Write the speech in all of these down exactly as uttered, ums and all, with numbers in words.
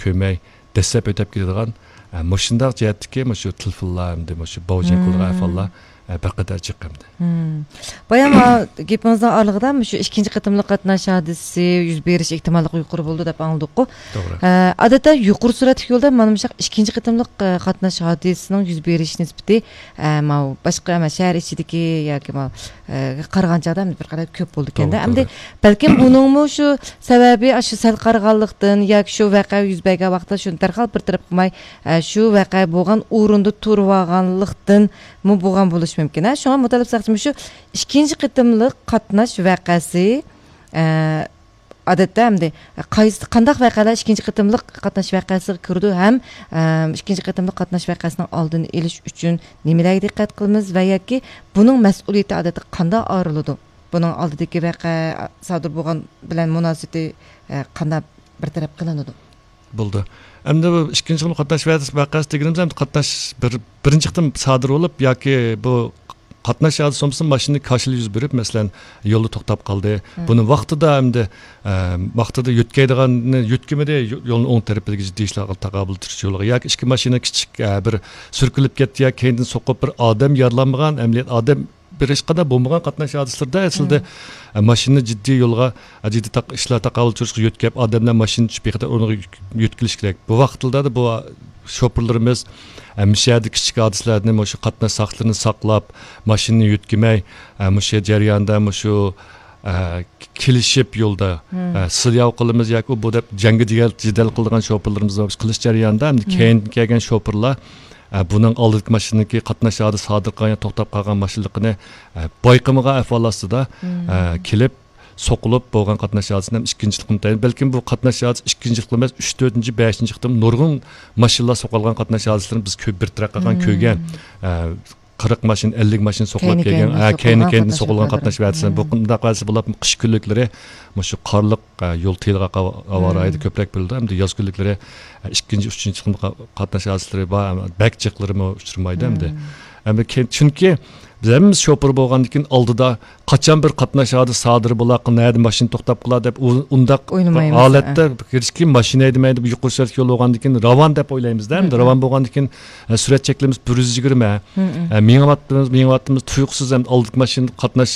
كۆرمەي دەسسەپ ئۆتەپ كېتىدىغان، ئە، مۇشۇنداق جەھەتتىكى مۇشۇ تېلېفونلار، ئەمدى مۇشۇ باۋجېن قىلىدىغان ئەھۋاللار، ئە، بىر قەدەر جىق ئەمدى. بايا ما گېپىڭىزنىڭ ئارىلىقىدا مۇشۇ ئىككىنچى قېتىملىق قاتناش ھادىسىسى يۈز بېرىش ئېھتىماللىقى يۇقىرى بولىدۇ دەپ ئاڭلىدۇققۇ. توغرا. ئە، ئادەتتە يۇقىرى سۈرئەتلىك يولدا مانا مۇشۇ ئىككىنچى قېتىملىق، ئە، قاتناش ھادىسىسىنىڭ يۈز بېرىش نىسبىتى، ئە، ماۋۇ باشقا، ئەمما شەھەر ئىچىدىكى ياكى ماۋۇ، ئە، قارىغان چاغدا بىر قەدەر كۆپ بولىدىكەن-دە. توغرا، ئەمدى توغرا. بەلكىم بۇنىڭمۇ شۇ سەۋەبى، ئاشۇ سەل قارىغانلىقتىن ياكى شۇ ۋەقە يۈز بەرگەن ۋاقىتتا شۇنى دەرھال بىر تەرەپ قىلماي، ئە، شۇ ۋەقە بولغان ئورۇندا تۇرۇۋالغانلىقتىنمۇ بولغان بولۇشى مۇمكىن. ھە، شۇڭا مۇتەللىپ ساقچىمۇ شۇ ئىككىنچى قېتىملىق قاتناش ۋەقەسى، ئە، ئادەتتە ئەمدى قايسى، قانداق ۋەقەلەر ئىككىنچى قېتىملىق قاتناش ۋەقەسىگە كىرىدۇ ھەم، ئە، ئىككىنچى قېتىملىق قاتناش ۋەقەسىنىڭ ئالدىنى ئېلىش ئۈچۈن نېمىلەرگە دىققەت قىلىمىز ۋە ياكى بۇنىڭ مەسئۇلىيىتى ئادەتتە قانداق ئايرىلىدۇ؟ بۇنىڭ ئالدىدىكى ۋەقە سادىر بولغان بىلەن مۇناسىۋىتى، ئە، قانداق بىر تەرەپ قىلىنىدۇ؟ بولدى. ئەمدى بۇ ئىككىنچى قېتىم قاتناش ۋەقەسى دېگىنىمىز ئەمدى قاتناش بىر، بىرىنچى قېتىم سادىر بولۇپ ياكى بۇ قاتناش ھادىسىسى بولمىسا ماشىنا كاشىلا يۈز بېرىپ، مەسىلەن، يولدا توختاپ قالدى. بۇنى ۋاقتىدا ئەمدى، ئە، ۋاقتىدا يۆتكەيدىغاننى يۆتكىمىدى، يو-، يولنىڭ ئوڭ تەرىپىدىكى جىددىي ئىشلارغا تاقابىل تۇرۇش يولىغا. ياكى ئىككى ماشىنا كىچىك، ئە، بىر سۈركىلىپ كەتتى ياكى كەينىدىن سوقۇپ بىر ئادەم يارىلانمىغان، ئەمەلىيەت ئادەم بىر ھېچقانداق بولمىغان قاتناش ھادىسىلىرىدا ئەسلىدە، ئە، ماشىنىنى جىددىي يولغا، ئە، جىددىي تاق-، ئىشلار تاقابىل تۇرۇشقا يۆتكەپ، ئادەملەر ماشىنا چۈشۈپ بىخەتەر ئورۇنغا يۆت-، يۆتكىلىش كېرەك. بۇ ۋاقىتلاردا بۇ شوپۇرلىرىمىز، ئە، مۇشۇ يەردە كىچىك ھادىسىلەردىن مۇشۇ قاتناش ساقچىلىرىنى ساقلاپ، ماشىنىنى يۆتكىمەي، ئە، مۇشۇ جەرياندا مۇشۇ، ئە، كېلىشىپ يولدا، ئە، سىلياۋ قىلىمىز ياكى ئۇ بۇ دەپ جەڭگى جېدەل، جېدەل قىلىدىغان شوپۇرلىرىمىز بار. قىلىش جەريانىدا ئەمدى كەينىدىن كەلگەن شوپۇرلار، ئە، بۇنىڭ ئالدىدىكى ماشىنىدىكى قاتناش ھادىسىسى سادىر قىلغان يا توختاپ قالغان ماشىنىلىقىنى، ئە، بايقىمىغان ئەھۋال ئاستىدا، ئە، كېلىپ، سوقۇلۇپ بولغان قاتناش ھادىسىسىنى ھەم ئىككىنچىلىقنى تەيىن. بەلكىم بۇ قاتناش ھادىسىسى ئىككىنچىلىق ئەمەس، ئۈچ، تۆتىنچى، بەشىنچى قېتىم نۇرغۇن ماشىنىلار سوقۇلغان قاتناش ھادىسىلىرىنى بىز كۆپ بىر تەرەپ قىلغان كۆرگەن. ئە، قىرىق ماشىنا، ئەللىك ماشىنا سوقۇلۇپ كەلگەن، ھە، كەينى كەينىدىن سوقۇلغان قاتناش ھادىسىلىرى. بۇ قانداق ھادىسە بولۇپ، قىش كۈنلۈكلىرى مۇشۇ قارلىق، ئە، يول تېيىلغان ھاۋا رايىدا كۆپرەك بولىدۇ. ئەمدى ياز كۈنلۈكلىرى، ئە، ئىككىنچى، ئۈچىنچى قېتىم قاتناش ھادىسىلىرى بار، بەك جىقلىرىمۇ ئۇچرىمايدۇ ئەمدى. ئەمدى كەين، چۈنكى بىز ھەممىمىز شوپۇر بولغاندىن كېيىن ئالدىدا قاچان بىر قاتناش ھادىسىسى سادىر بولا، نەدە ماشىنا توختاپ قالا دەپ ئۇ-، ئۇنداق ھالەتتە ھېچكىم ماشىنا ھەيدىمەيدۇ، يۇقىرى سۈرئەتلىك يول بولغاندىن كېيىن راۋان دەپ ئويلايمىزدە، ئەمدى راۋان بولغاندىن كېيىن، ئە، سۈرئەت چەكلىمىسى بىر يۈز يىگىرمە. ئە، مېڭىۋاتىمىز، مېڭىۋاتىمىز، تۇيۇقسىز ئەمدى ئالدىدىكى ماشىنا قاتناش،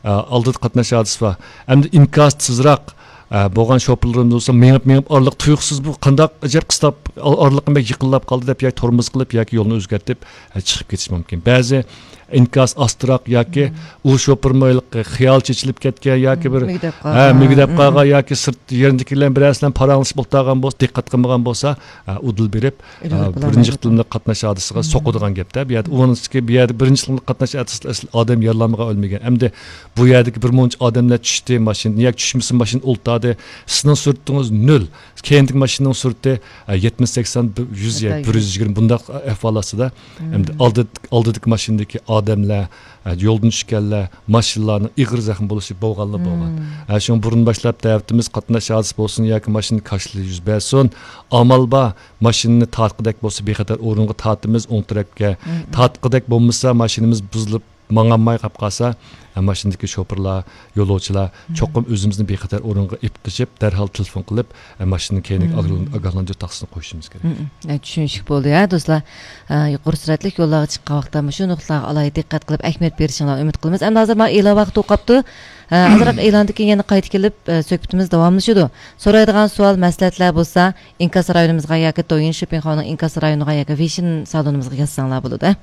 ئە، ئالدىدا قاتناش ھادىسىسى بار. ئەمدى ئىنكاسى تېزراق، ئە، بولغان شوپۇرلىرىمىز بولسا مېڭىپ، مېڭىپ ئارىلىق تۇيۇقسىز بۇ قانداق ئەجەب قىستاپ، ئار-، ئارىلىقىم بەك يېقىنلاپ قالدى دەپ ياكى تورمۇز قىلىپ ياكى يولنى ئۆزگەرتىپ، ئە، چىقىپ كېتىشى مۇمكىن. بەزى ئىنكاس ئاستىراق ياكى ئۇ شوپۇرمۇ خىيال چېچىلىپ كەتكەن ياكى بىر، مۈگدەپ ھە، قالغان. مۈگدەپ قالغان ياكى سىرت يېرىندىكىلەر بىلەن پاراڭلىشىپ ئولتۇرغان بولسا، دىققەت قىلمىغان بولسا، ئە، ئۇدۇل بېرىپ، ئە، بىرىنچى قېتىملىق قاتناش ھادىسىسىغا سوقىدىغان گەپتە. بۇ يەردە ئۇنىڭ ئۈستىگە بۇ يەردە بىرىنچى قېتىملىق قاتناش ھادىسىسىدە ئەسلى ئادەم يارىلانمىغان، ئۆلمىگەن. ئەمدى بۇ يەردىكى بىر مۇنچە ئادەملەر چۈشتى ماشىنىدىن ياكى چۈشمىسە ماشىنا ئولتۇردى. سىزنىڭ سۈرئىتىڭىز نۆل. كەينىدىكى ماشىنىنىڭ سۈرئىتى، ئە، يەتمىش، سەكسەن، يۈز، بىر يۈز يىگىرمە بۇنداق ئەھۋال ئاستىدا. ئەمدى ئالدى، ئالدىدىكى ماشىنىدىكى ئادەملەر، ئە، يولدىن چۈشكەنلەر، ماشىنىلارنىڭ ئېغىر زەخىم بولۇشى بولغانلا بولغان. ئە، شۇڭا بۇرۇن باشلاپ دەۋەتىمىز، قاتناش ھادىسىسى بولسۇن ياكى ماشىنا كاشىلى يۈز بەرسۇن، ئامال بار، ماشىنىنى تارتقۇدەك بولسا بىخەتەر ئورۇنغا تارتىمىز، ئوڭ تەرەپكە. تارتقۇدەك بولمىسا، ماشىنىمىز بۇزۇلۇپ، ماڭالماي قاپ قالسا، ئە، ماشىنىدىكى شوپۇرلار، يولۇچىلار چوقۇم ئۆزىمىزنى بىخەتەر ئورۇنغا ئېلىپ قېچىپ، دەرھال تېلېفون قىلىپ، ئە، ماشىنىنى كەينىگە ئاگاھلان-، ئاگاھلاندۇرۇش تاختىسىنى قويۇشىمىز كېرەك. ئە، چۈشىنىشلىك بولدى، ھە، دوستلار. ئە، يۇقىرى سۈرئەتلىك يوللارغا چىققان ۋاقىتتا مۇشۇ نۇقتىلارغا ئالاھىدە دىققەت قىلىپ، ئەھمىيەت بېرىشىڭلارنى ئۈمىد قىلىمىز. ئەمدى ھازىر مانا ئېلان ۋاقتى توقاپتۇ. ئە، ئازراق ئېلاندىن كېيىن يەنە قايتا كېلىپ، ئە، سۆھبىتىمىز داۋاملىشىدۇ. سورايدىغان سوئال، مەسلىھەتلەر بولسا، ئىنكاس رايونىمىزغا ياكى دويىن شوپىڭ خاۋنىڭ ئىنكاس رايونىغا ياكى ۋېيشىن سالونىمىزغا يازساڭلار بولىدۇ.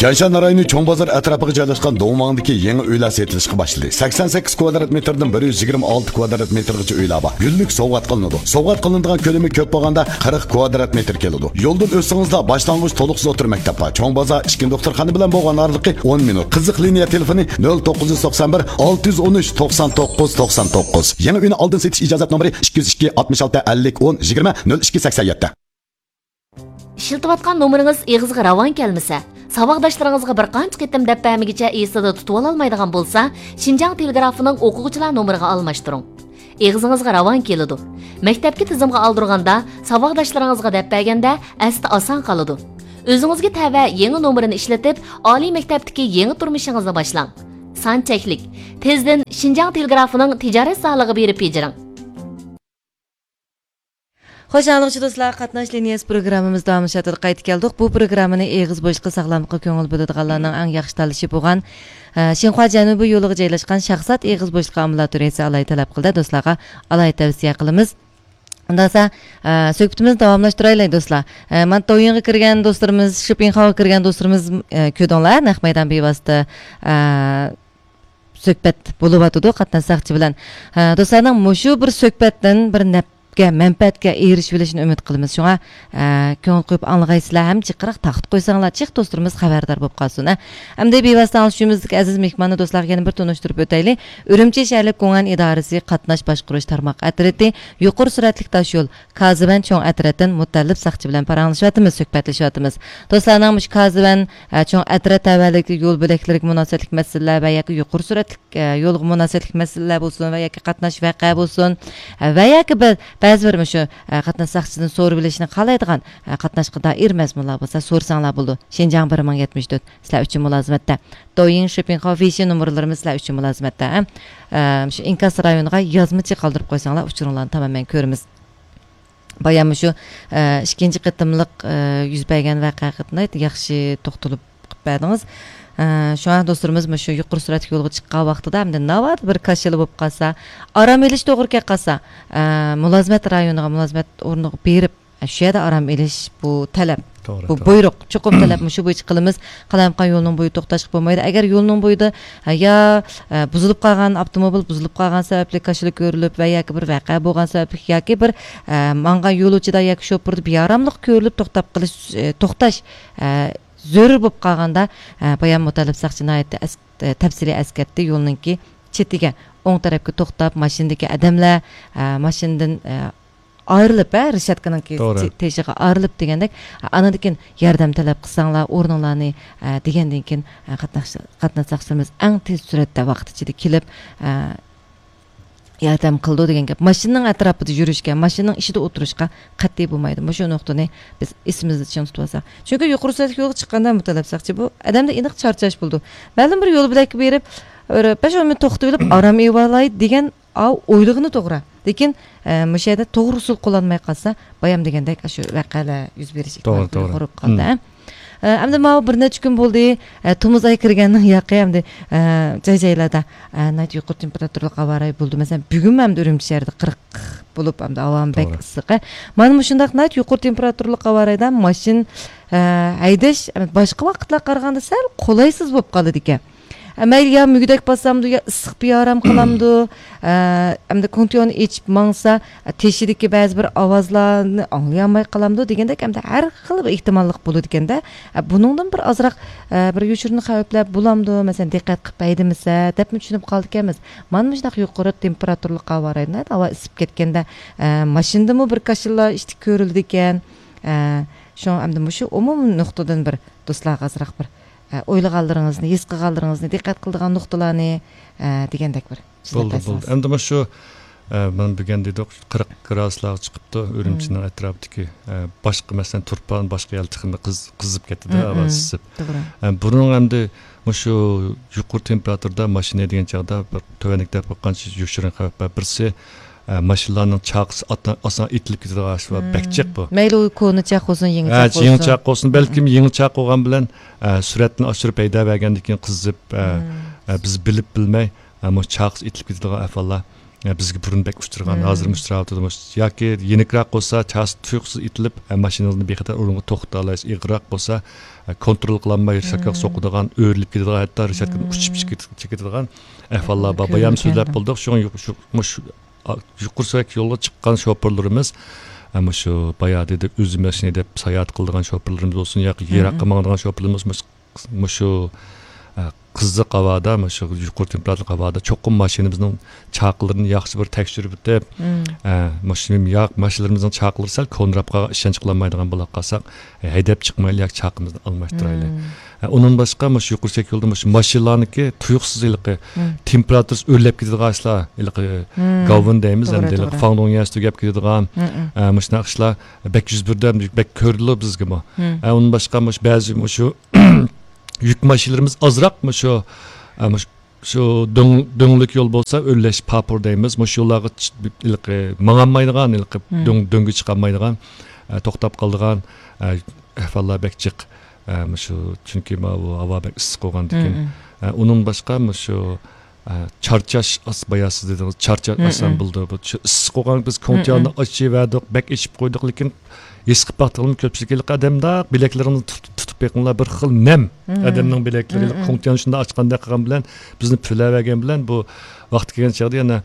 تيەنشان رايونى چوڭ بازار ئەتراپىغا جايلاشقان دۇڭۋاڭدىكى يېڭى ئۆيلەر سېتىلىشقا باشلىدى. سەكسەن سەككىز كۋادرات مېتىردىن بىر يۈز يىگىرمە ئالتە كۋادرات مېتىرغىچە ئۆيلەر بار. گۈللۈك سوۋغات قىلىنىدۇ. سوۋغات قىلىنىدىغان كۆلىمى كۆپ بولغاندا قىرىق كۋادرات مېتىر كېلىدۇ. يولدىن ئۆتسىڭىزلا باشلانغۇچ تولۇقسىز ئوتتۇرا مەكتەپ بار. چوڭ بازار ئىچكى دوختۇرخانا بىلەن بولغان ئارىلىقى ئون مىنۇت. قىزىق لىنىيە تېلېفونى نۆل توققۇز يۈز توقسان بىر، ئالتە يۈز ئون ئۈچ، توقسان توققۇز، توقسان توققۇز. يېڭى ئۆينى ئالدىن سېتىش ئىجازەت نومۇرى ئىككى يۈز ئىككى، ئاتمىش ئالتە، ئەللىك، ئون، يىگىرمە، نۆل ئىككى، سەكسەن يەتتە. ئىشلىتىۋاتقان نومۇرىڭىز ئېغىزغا راۋان كەلمىسە، ساۋاقداشلىرىڭىزغا بىر قانچە قېتىم دەپ بەرمىگۈچە ئېسىدە تۇتۇۋالالمايدىغان بولسا، شىنجاڭ تېلېگرافىنىڭ ئوقۇغۇچىلار نومۇرىغا ئالماشتۇرۇڭ. ئېغىزىڭىزغا راۋان كېلىدۇ. مەكتەپكە تىزىمغا ئالدۇرغاندا، ساۋاقداشلىرىڭىزغا دەپ بەرگەندە ئەستە ئاسان قالىدۇ. ئۆزىڭىزگە تەۋە يېڭى نومۇرنى ئىشلىتىپ، ئالىي مەكتەپتىكى يېڭى تۇرمۇشىڭىزنى باشلاڭ. سان چەكلىك. تېزدىن شىنجاڭ تېلېگرافىنىڭ تىجارەت سانلىقىغا بېرىپ بېجىرىڭ. خوش، ئاڭلىغۇچى دوستلار، قاتناش لىنىيەسى پروگراممىمىز داۋاملىشىۋاتىدۇ. قايتا كەلدۇق. بۇ پروگراممىنى ئېغىز بوشلۇقى ساغلاملىققا كۆڭۈل بۆلىدىغانلارنىڭ ئەڭ ياخشى تاللىشى بولغان، ئە، شىنخۇا جەنۇبىي يولىغا جايلاشقان شاھزات ئېغىز بوشلۇقى ئامبۇلاتورىيەسى ئالاھىدە تەلەپ قىلدى. دوستلارغا ئالاھىدە تەۋسىيە قىلىمىز. ئۇنداق بولسا، ئە، سۆھبىتىمىزنى داۋاملاشتۇرايلى، دوستلار. ئە، مانا دويىنغا كىرگەن دوستلىرىمىز، شوپىنخاغا كىرگەن دوستلىرىمىز، ئە، كۆردۈڭلار، نەق مەيدان بىۋاسىتە، ئە، سۆھبەت بولۇۋاتىدۇ قاتناش ساقچى بىلەن. ئە، دوستلارنىڭ مۇشۇ بىر سۆھبەتتىن بىر نەپكە، مەنپەئەتكە ئېرىشىۋېلىشىنى ئۈمىد قىلىمىز. شۇڭا، ئە، كۆڭۈل قويۇپ ئاڭلىغايسىلەر ھەم جىقراق تارقىتىپ قويساڭلار، جىق دوستلىرىمىز خەۋەردار بولۇپ قالسۇن، ھە. ئەمدى بىۋاسىتە ئاڭلىشىمىزدىكى ئەزىز مېھماننى دوستلارغا يەنە بىر تونۇشتۇرۇپ ئۆتەيلى. ئۈرۈمچى شەھەرلىك گۇڭئەن ئىدارىسى قاتناش باشقۇرۇش تارماق ئەترىتى يۇقىرى سۈرئەتلىك تاشيول كازىۋەن چوڭ ئەترەتتىن مۇتەللىپ ساقچى بىلەن پاراڭلىشىۋاتىمىز، سۆھبەتلىشىۋاتىمىز. دوستلارنىڭ مۇشۇ كازىۋەن، ئە، چوڭ ئەترەت تەۋەلىكى يول بۆلەكلىرىگە مۇناسىۋەتلىك مەسىلىلەر ۋە ياكى يۇقىرى سۈرئەتلىك، ئە، يولغا مۇناسىۋەتلىك مەسىلىلەر بولسۇن ۋە ياكى قاتناش ۋەقە بولسۇن، ئە، ۋە ياكى بىر، بەزى بىر مۇشۇ، ئە، قاتناش ساقچىسىدىن سورىۋېلىشنى خالايدىغان، ئە، قاتناشقا دائىر مەزمۇنلار بولسا سورىساڭلار بولىدۇ. شىنجاڭ بىر مىڭ يەتمىش تۆت سىلەر ئۈچۈن مۇلازىمەتتە. دويىڭ شوپىڭخاۋ ۋېيشىن نومۇرلىرىمىز سىلەر ئۈچۈن مۇلازىمەتتە، ھە. ئە، شۇ ئىنكاس رايونىغا يازمىچە قالدۇرۇپ قويساڭلار ئۇچۇرۇڭلارنى تامامەن كۆرىمىز. بايام مۇشۇ، ئە، ئىككىنچى قېتىملىق، ئە، يۈز بەرگەن ۋەقەگە ناھايىتى ياخشى توختىلىپ قىلىپ بەردىڭىز. ئە، شۇڭا دوستلىرىمىز مۇشۇ يۇقىرى سۈرئەتلىك يولغا چىققان ۋاقتىدا، ئەمدى ناۋادا بىر كاشىلا بولۇپ قالسا، ئارام ئېلىش توغرا كەپ قالسا، ئە، مۇلازىمەت رايونىغا، مۇلازىمەت ئورنىغا بېرىپ، ئە، شۇ يەردە ئارام ئېلىش، بۇ تەلەپ، توغرا، بۇ توغرا. بۇيرۇق، چوقۇم تەلەپ، مۇشۇ بويىچە قىلىمىز. قالايمىقان يولنىڭ بويىدا توختاشقا بولمايدۇ. ئەگەر يولنىڭ بويىدا، ئە، يا، ئە، بۇزۇلۇپ قالغان، ئاپتوموبىل بۇزۇلۇپ قالغان سەۋەبلىك كاشىلا كۆرۈلۈپ ۋە ياكى بىر ۋەقە بولغان سەۋەبلىك ياكى بىر، ئە، ماڭغان يولۇچىدا ياكى شوپۇردا بىئاراملىق كۆرۈلۈپ توختاپ قېلىش، ئە، توختاش، ئە، زۆرۈر بولۇپ قالغاندا، ئە، بايام مۇتەللىپ ساقچى ناھايىتى ئەس-، ئە، تەپسىلىي ئەسكەرتتى. يولنىڭكى چېتىگە، ئوڭ تەرەپكە توختاپ، ماشىنىدىكى ئادەملەر، ئە، ماشىنىدىن، ئە، ئايرىلىپ، ھە، رېشاتكىنىڭكى توغرا. تېشىغا ئايرىلىپ دېگەندەك، ئانىڭدىن كېيىن ياردەم تەلەپ قىلساڭلار، ئورنۇڭلارنى، ئە، دېگەندىن كېيىن، ئە، قاتناش-، قاتناش ساقچىلىرىمىز ئەڭ تېز سۈرئەتتە ۋاقىت ئىچىدە كېلىپ، ئە، ياردەم قىلىدۇ دېگەن گەپ. ماشىنىنىڭ ئەتراپىدا يۈرۈشكە، ماشىنىنىڭ ئىچىدە ئولتۇرۇشقا قەتئىي بولمايدۇ. مۇشۇ نۇقتىنى بىز ئېسىمىزدە چىڭ تۇتۇۋالساق. چۈنكى يۇقىرى سۈرئەتلىك يولغا چىققاندا مۇتەللەپ ساقچى بۇ ئادەمدە ئېنىق چارچاش بولىدۇ. مەلۇم بىر يول بۆلەككە بېرىپ، بىر بەش ئون مىنۇت توختىۋېلىپ، ئارام ئېلىۋالاي دېگەن ئاۋۇ ئويلىغىنى توغرا. لېكىن، ئە، مۇشۇ يەردە توغرا ئۇسۇل قوللانماي قالسا، بايام دېگەندەك، ئاشۇ ۋەقەلەر يۈز بېرىش توغرا، ئېھتىمالى توغرا. يۇقىرى بولۇپ قالدى، ھە. ئە، ئەمدى ماۋۇ بىر نەچچە كۈن بولدى، ئە، تومۇز ئاي كىرگەننىڭ ياقى ئەمدى، ئە، جاي-جايلاردا، ئە، ناھايىتى يۇقىرى تېمپېراتۇرىلىق ھاۋا رايى بولدى. مەسىلەن، بۈگۈنمۇ ئەمدى ئۈرۈمچى شەھىرىدە قىرىق بولۇپ، ئەمدى ھاۋامۇ بەك توغرا. ئىسسىق. ئە، مانا مۇشۇنداق ناھايىتى يۇقىرى تېمپېراتۇرىلىق ھاۋا رايىدا ماشىنا، ئە، ھەيدەش، ئەمدى باشقا ۋاقىتلارغا قارىغاندا سەل قولايسىز بولۇپ قالىدىكەن. ئە، مەيلى يا مۈگدەك باسامدۇ، يا ئىسسىق بىئارام قىلامدۇ، ئە، ئەمدى كوندىتسىيوننى ئېچىپ ماڭسا، ئە، تېشىدىكى بەزى بىر ئاۋازلارنى ئاڭلىيالماي قالامدۇ دېگەندەك، ئەمدى ھەر خىل بىر ئېھتىماللىق بولىدىكەن-دە. ئە، بۇنىڭدىن بىر ئازراق، ئە، بىر يوشۇرۇن خەۋپلەر بولامدۇ، مەسىلەن، دىققەت قىلىپ ھەيدىمىسە، دەپمۇ چۈشىنىپ قالىدىكەنمىز. مانا مۇشۇنداق يۇقىرى تېمپېراتۇرىلىق ھاۋا رايىدا، ھاۋا ئىسسىپ كەتكەندە، ئە، ماشىنىدىمۇ بىر كاشىلا ئىشتىك كۆرۈلىدىكەن. ئە، شۇڭا ئەمدى مۇشۇ ئومۇمىي نۇقتىدىن بىر دوستلارغا ئازراق بىر ئە، ئويلىغانلىرىڭىزنى، ھېس قىلغانلىرىڭىزنى، دىققەت قىلىدىغان نۇقتىلارنى، ئە، دېگەندەك بىر سۆزلەپ بولدى، بولدى. بەرسىڭىز. ئەمدى مۇشۇ، ئە، مانا بۈگۈن دېدۇق، قىرىق گرادۇسلارغا چىقىپتۇ. ئۈرۈمچىنىڭ ئەتراپىدىكى، ئە، باشقا، مەسىلەن، تۇرپان، باشقا يەر تېخىمۇ قىز-، قىزىپ كەتتىدە، ھاۋا ئىسسىپ. توغرا. ئە، بۇنىڭ ئەمدى مۇشۇ يۇقىرى تېمپېراتۇرىدا ماشىنا ھەيدىگەن چاغدا بىر تۆۋەندىكىدەك بىر قانچە يوشۇرۇن خەۋپ بار. بىرسى، ئە، ماشىنىلارنىڭ چاقىسى ئاتا-، ئاسان ئېتىلىپ كېتىدىغان ئىش بار. بەك جىق بۇ. مەيلى ئۇ كونا چاق بولسۇن، يېڭى ھە، چاق يېڭى بولسۇن. چاق بولسۇن. بەلكىم يېڭى چاق بولغان بىلەن، ئە، سۈرئەتنى ئاشۇرۇپ ھەيدەۋەرگەندىن كېيىن قىزىپ، ئە، ئە، بىز بىلىپ بىلمەي، ئە، مۇشۇ چاقىسى ئېتىلىپ كېتىدىغان ئەھۋاللار، ئە، بىزگە بۇرۇن بەك ئۇچرىغان، ھازىرمۇ ئۇچراۋاتىدۇ. مۇشۇ ياكى يېنىكراق بولسا، چاقىسى تۇيۇقسىز ئېتىلىپ، ئە، ماشىنىڭىزنى بىخەتەر ئورۇنغا توختىتالايسىز. ئېغىرراق بولسا، ئە، كونترول قىلالماي رېشاتكىغا سوقىدىغان، ئۆرۈلۈپ كېتىدىغان، ھەتتا رېشاتكىدىن ئۇچۇپ چىقىپ كېتىدىغان ئەھۋاللار بار. بايام سۆزلەپ بولدۇق. شۇڭا يۇق-، شۇ، مۇشۇ ئا، يۇقىرى سۈرئەتلىك يولغا چىققان شوپۇرلىرىمىز، ئە، مۇشۇ بايا دېدى، ئۆزى ماشىنا ھەيدەپ ساياھەت قىلىدىغان شوپۇرلىرىمىز بولسۇن ياكى يىراققا ماڭىدىغان شوپۇرلىرىمىز مۇش-، مۇشۇ، ئە، قىزىق ھاۋادا، مۇشۇ يۇقىرى تېمپېراتۇرلۇق ھاۋادا چوقۇم ماشىنىمىزنىڭ چاقىلىرىنى ياخشى بىر تەكشۈرۈپ ئۆتۈپ، ئە، ماشىنا-، ياق، ماشىنىلىرىمىزنىڭ چاقىلىرى سەل كونىراپقا ئىشەنچ قىلالمايدىغان بولاپ قالساق، ھەيدەپ چىقمايلى ياكى چاقىمىزنى ئالماشتۇرايلى. ھە، ئۇنىڭدىن باشقا مۇشۇ يۇقىرى سۈرئەتلىك يولدا مۇشۇ ماشىنىلارنىڭكى تۇيۇقسىز ھېلىقى تېمپېراتۇرىسى ئۆرلەپ كېتىدىغان ئىشلار، ھېلىقى گاۋېن دەيمىز، توغرا، ئەمدى ھېلىقى توغرا. فاڭدۇڭيەنسى تۈگەپ كېتىدىغان، ئە، مۇشۇنداق ئىشلار بەك يۈز بېرىدۇ، ھەم بەك كۆرۈلىدۇ بىزگىمۇ. ھە، ئۇنىڭدىن باشقا مۇشۇ بەزى مۇشۇ يۈك ماشىنىلىرىمىز ئازراق مۇشۇ، ئە، مۇشۇ شۇ دۆڭ-، دۆڭلۈك يول بولسا، ئۆرلەش پاپۇر دەيمىز. مۇشۇ يوللارغا چ-، ھېلىقى ماڭالمايدىغان، ھېلىقى مم. دۆڭ-، دۆڭگە چىقالمايدىغان، ئە، توختاپ قالىدىغان، ئە، ئەھۋاللار بەك جىق. ئە، مۇشۇ، چۈنكى ماۋۇ ھاۋا بەك ئىسسىق بولغاندىكىن. مم. ئە، ئۇنىڭ باشقا مۇشۇ، ئە، چارچاش، ئاس-، بايا سىز دېدىڭىز، چارچاش مم. ئاسان بولىدۇ. بۇ چ-، ئىسسىق بولغان، بىز كوڭتياننى ئېچىۋەردۇق، بەك ئېچىپ قويدۇق، لېكىن ھېس قىلىپ باقتىڭىزمۇ، كۆپچىلىك ھېلىقى ئادەمداق بىلەكلىرىڭىزنى تۇتۇپ، تۇتۇپ بېقىڭلار، بىر خىل نەم. مم. ئادەمنىڭ بىلەكلىرى مم، ھېلىقى مم. كوڭتياننى شۇنداق ئاچقاندەك قىلغان بىلەن بىزنى پۈۋلەۋەرگەن بىلەن بۇ ۋاقتى كەلگەن چاغدا يەنە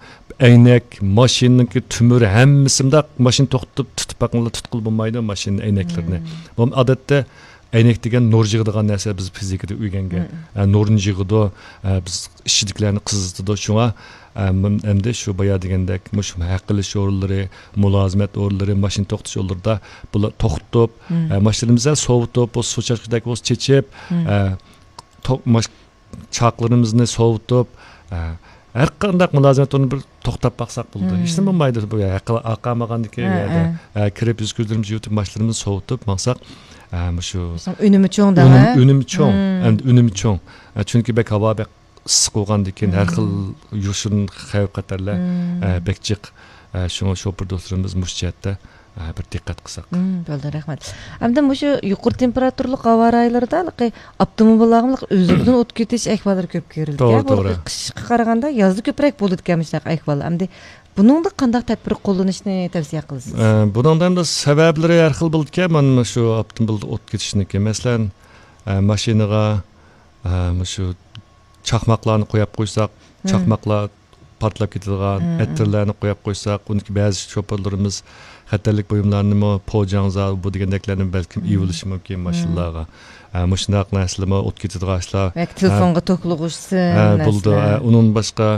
ئەينەك، ماشىنىنىڭكى تۆمۈرى، ھەممىسى مۇنداق ماشىنا توختىتىپ تۇتۇپ باقىڭلار، تۇتقىلى بولمايدۇ ماشىنا ئەينەكلىرىنى. مم. بۇ ئادەتتە ئەينەك دېگەن نۇر يىغىدىغان نەرسە، بىز فىزىكىدا ئۆگەنگەن. مم. ئە، نۇرنى يىغىدۇ، ئە، بىز ئىچىدىكىلەرنى قىزىتىدۇ. شۇڭا، ئە، مۇن-، ئەمدى شۇ بايا دېگەندەك، مۇشۇ ھەق ئېلىش ئورۇنلىرى، مۇلازىمەت ئورۇنلىرى، ماشىنا توختىتىش ئورۇنلىرىدا بۇلار توختىتىپ، مم. ئە، ماشىنىمىزنى سوۋۇتۇپ، بۇ سۇ چاچقۇدەك بولسا چېچىپ، مم. ئە، تو-، ماش-، چاقلىرىمىزنى سوۋۇتۇپ، ئە، ھەر قانداق مۇلازىمەت ئورنىنى بىر توختاپ باقساق بولىدۇ. مم. ھېچنېمە بولمايدۇ. بۇ ھەققى ئاقارمىغاندىكىن ھە، يەردە، ھە. ئە، كىرىپ يۈز كۆزلىرىمىزنى يۇتۇپ، ماشىنىمىزنى سوۋۇتۇپ ماڭساق، ئە، مۇشۇ ئۈنۈمى چوڭ دەڭ، ئۈنۈم-، ھە؟ ئۈنۈمى چوڭ. مم. ئەمدى ئۈنۈمى چوڭ. ئە، چۈنكى بەك ھاۋا بەك ئىسسىق بولغاندىكىن ھەر خىل مم. يوشۇرۇن خەۋپ خەتەرلەر، مم. ئە، بەك جىق. ئە، شۇڭا شوپۇر دوستلىرىمىز مۇشۇ جەھەتتە، ئە، بىر دىققەت قىلساق. مم، بولدى، رەھمەت. ئەمدى مۇشۇ يۇقىرى تېمپېراتۇرىلىق ھاۋا رايلىرىدا ھېلىقى ئاپتوموبىللارغىمۇ ئۆزلۈكىدىن ئوت كېتىش ئەھۋاللىرى كۆپ كۆرۈلىدىكەن. توغرا، بۇ توغرا. قىشقا قارىغاندا يازدا كۆپرەك بولىدىكەن مۇشۇنداق ئەھۋال. ئەمدى بۇنىڭدا قانداق تەدبىر قوللىنىشنى تەۋسىيە قىلىسىز؟ ئە، بۇنىڭدا ئەمدى سەۋەبلىرى ھەر خىل بولىدىكەن. مانا شۇ ئاپتوموبىلدا ئوت كېتىشنىڭكى، مەسىلەن، ئە، ماشىنىغا، ئە، مۇشۇ چاقماقلارنى قويۇپ قويساق، مم. چاقماقلار پارتلاپ كېتىدىغان، مم. ئەتىرلەرنى قويۇپ قويساق، ئۇنىڭكى بەزى شوپۇرلىرىمىز خەتەرلىك بۇيۇملارنىمۇ، پوجاڭزا، بۇ دېگەندەكلەرنى بەلكىم مم. ئېلىۋېلىشى مۇمكىن مم. ماشىنىلارغا. ئە، مۇشۇنداق نەرسىلەرمۇ ئوت كېتىدىغان ئىشلار. ياكى تېلېفونغا توكلىغۇچىسى ھە، بولىدۇ. نەرسىلەر. ئە، ئۇنىڭدىن باشقا،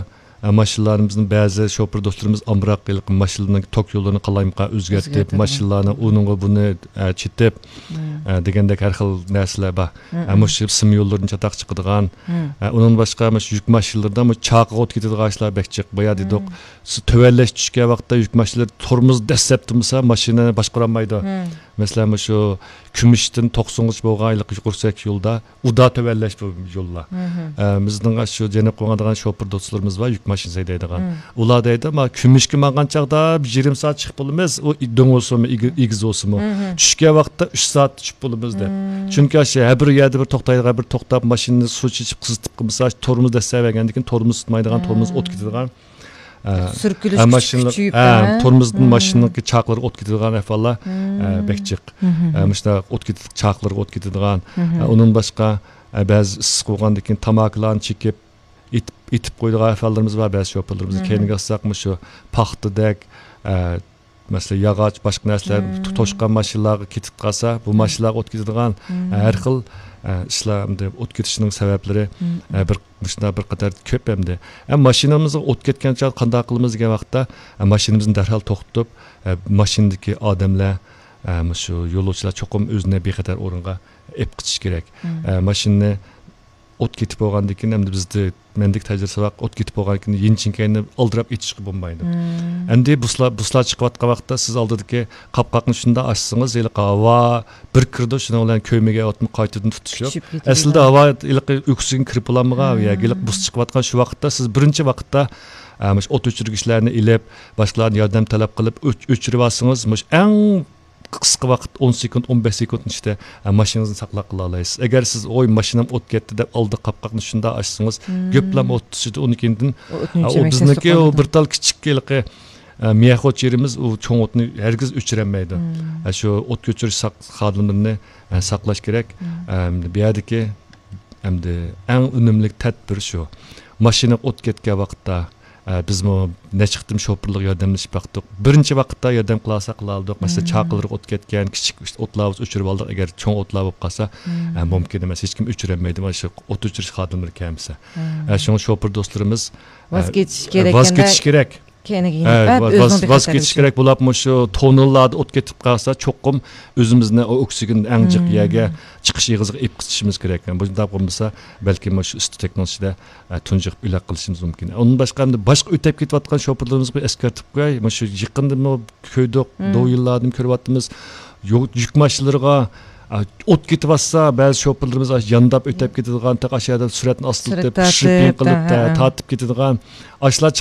ئە، ماشىنىلارىمىزنىڭ بەزى شوپۇر دوستلىرىمىز ئامراق ھېلىقى ماشىنىنىڭ توك يوللىرىنى قالايمىقان ئۆزگەرتىپ، ئۆزگەرتىدۇ. ماشىنىلارنى ئۇنىڭغا بۇنى، ئە، چېتىپ، مم. ئە، دېگەندەك ھەر خىل نەرسىلەر بار. مم. ئە، مۇشۇ سىم يوللىرىدىن چاتاق چىقىدىغان. مم. ئە، ئۇنىڭدىن باشقا مۇشۇ يۈك ماشىنىلىرىدا مۇشۇ چاقىغا ئوت كېتىدىغان ئىشلار بەك جىق. بايا دېدۇق، مم. سىز تۆۋەنلەش چۈشكەن ۋاقىتتا يۈك ماشىنىلىرى تورمۇز دەسسەپ تۇرمىسا، ماشىنا باشقۇرالمايدۇ. مم. مەسىلەن، مۇشۇ كۈمۈشتىن توقسۇنغىچە بولغان ھېلىقى يۇقىرى سۈرئەتلىك يولدا ئۇدا تۆۋەنلەش بۇ يوللار. مم. ئە، بىزنىڭ شۇ جەنۇب قوغان دېگەن شوپۇر دوستلىرىمىز بار، يۈك ماشىنا ھەيدەيدىغان. مم. ئۇلار دەيدۇ، ما كۈمۈشكە ماڭغان چاغدا بىر يېرىم سائەت چىقىپ بولىمىز، ئۇ دۆڭ بولسىمۇ، ئېگىز بولسىمۇ. مم. چۈشكەن ۋاقىتتا ئۈچ سائەت چۈشۈپ بولىمىز دەپ. مم. چۈنكى ئاشۇ ھەر بىر يەردە بىر توختايدىغان، بىر توختاپ ماشىنىنى سۇ چېچىپ قىزىتىپ قىلمىسا، تورمۇز دەسسەۋەرگەندىن كېيىن تورمۇز تۇتمايدىغان، تورمۇز ئوت كېتىدىغان. ئە، سۈركىلىش ئە، كۈچى ماشىنىلار، كۈچىيىپ، ئە، ھە؟ تورمۇزدىن مم. ماشىنىنىڭكى چاقلىرىغا ئوت كېتىدىغان ئەھۋاللار، ئە، مم. بەك جىق. مم. ئە، مۇشۇنداق ئوت كېتىدىغان، چاقلىرىغا ئوت كېتىدىغان. مم. ئە، ئۇنىڭدىن باشقا، ئە، بەزى ئىسسىق بولغاندىن كېيىن تاماكىلارنى چېكىپ، ئېتىپ، ئېتىپ قويىدىغان ئەھۋاللىرىمىز بار بەزى شوپۇرلىرىمىز. مم. كەينىگە ئالساق، مۇشۇ پاختىدەك، ئە، مەسىلەن، ياغاچ، باشقا نەرسىلەر مم. توشقان ماشىنىلارغا كېتىپ قالسا، بۇ مم. ماشىنىلارغا ئوت كېتىدىغان، مم. ھەر خىل، ئە، ئىشلار، ئەمدى ئوت كېتىشنىڭ سەۋەبلىرى، مم. ئە، بىر، مۇشۇنداق بىر قاتار كۆپ ئەمدى. ئە، ماشىنىمىزغا ئوت كەتكەن چاغدا قانداق قىلىمىز دېگەن ۋاقىتتا، ئە، ماشىنىمىزنى دەرھال توختىتىپ، ئە، ماشىنىدىكى ئادەملەر، ئە، مۇشۇ يولۇچىلار چوقۇم ئۆزىنى بىخەتەر ئورۇنغا ئېلىپ قېچىشى كېرەك. مم. ئە، ماشىنىنى ئوت كېتىپ بولغاندىن كېيىن، ئەمدى بىزدە، مەندىكى تەجرىبىسى بار، ئوت كېتىپ بولغاندىن كېيىن يېنىچىنكەينى ئالدىراپ ئېچىشقا بولمايدۇ. مم. ئەمدى بۇسلار، بۇسلار چىقىۋاتقان ۋاقىتتا سىز ئالدىدىكى قاپقاقنى شۇنداق ئاچسىڭىز، ھېلىقى ھاۋا بىر كىرىدۇ، شۇنىڭ بىلەن كۆمىگەن ئوتمۇ قايتىدىن تۇتىشىپ. كۈچىيىپ كېتىدۇ. ئەسلىدە ھاۋا ھېلىقى ئۆكسىگېن كىرىپ بولالمىغان، مم. يا ھېلىقى بۇس چىقىۋاتقان شۇ ۋاقىتتا سىز بىرىنچى ۋاقىتتا، ئە، مۇشۇ ئوت ئۆچۈرگۈچلەرنى ئېلىپ، باشقىلاردىن ياردەم تەلەپ قىلىپ ئۆچ-، ئۆچۈرۈۋالسىڭىز، مۇشۇ ئەڭ قىسقا ۋاقىت، ئون سېكۇنت، ئون بەش سېكۇنتنىڭ ئىچىدە، ئە، ماشىنىڭىزنى ساقلاپ قالالايسىز. ئەگەر سىز، «ۋوي، ماشىنام ئوت كەتتى» دەپ ئالدى قاپقاقنى شۇنداق ئاچسىڭىز، مم. گۆپلەم ئوت تۇتىشىدۇ. ئۇنىڭ كېيىندىن، مم. ئە، ئۇ بىزنىڭكى ئۇ بىر تال كىچىك ھېلىقى، ئە، مىيەخوچ يېرىمىز ئۇ چوڭ ئوتنى ھەرگىز ئۆچۈرەلمەيدۇ. مم. ئە، شۇ ئوت ئۆچۈرۈش ساق-، خادىملىرىنى، ئە، ساقلاش كېرەك. مم. ئەمدى بۇ يەردىكى ئەمدى ئەڭ ئۈنۈملۈك تەدبىر شۇ. ماشىنا ئوت كەتكەن ۋاقىتتا، ئە، بىزمۇ نەچچە قېتىم شوپۇرلارغا ياردەملىشىپ باقتۇق. بىرىنچى ۋاقىتتا ياردەم قىلالىساق قىلالىدۇق. مەسىلەن، مم. چاقىلىرىغا ئوت كەتكەن، كىچىك ئوتلار بولسا ئۆچۈرۈۋالدۇق. ئەگەر چوڭ ئوتلار بولۇپ قالسا، مم. ئە، مۇمكىن ئەمەس. ھېچكىم ئۆچۈرەلمەيدۇ، مانا شۇ ئوت ئۆچۈرۈش خادىملىرى كەلمىسە. مم. ئە، شۇڭا شوپۇر دوستلىرىمىز، ۋاز ئە، كېچىش ۋاز كېرەك كېتىش كېرەك. كەينىگە يېنىپ، ھە، ۋاز، ۋاز كېتىش كېرەك بولۇپ، مۇشۇ توننېللاردا ئوت كېتىپ قالسا، چوقۇم ئۆزىمىزنى ئوكسىگېن ئەڭ جىق مم. يەرگە، چىقىش ئېغىزىغا ئېلىپ قېچىشىمىز كېرەك. بۇنداق بولمىسا، بەلكىم مۇشۇ ئىستېكنىڭ ئىچىدە، ئە، تۇنجۇقۇپ ئۆلۈپ قېلىشىمىز مۇمكىن. ئۇندىن باشقا، ئەمدى باشقا ئۆتۈپ كېتىۋاتقان شوپۇرلىرىمىزغا ئەسكەرتىپ قوياي، مۇشۇ يېقىندىمۇ كۆردۇق، مم. دوۋيىنلاردىمۇ كۆرۈۋاتىمىز. يۈ-، يۈك ماشىنىلىرىغا، ئوت كېتىۋاتسا، بەزى شوپۇرلىرىمىز يانداپ ئۆتۈپ كېتىدىغان، تېخى ئاشۇ يەردە سۈرئەتنى ئاستىلىتىپ، پىشۇرۇپ، يېقىلىپ، تارتىپ كېتىدىغان. ئاشۇلار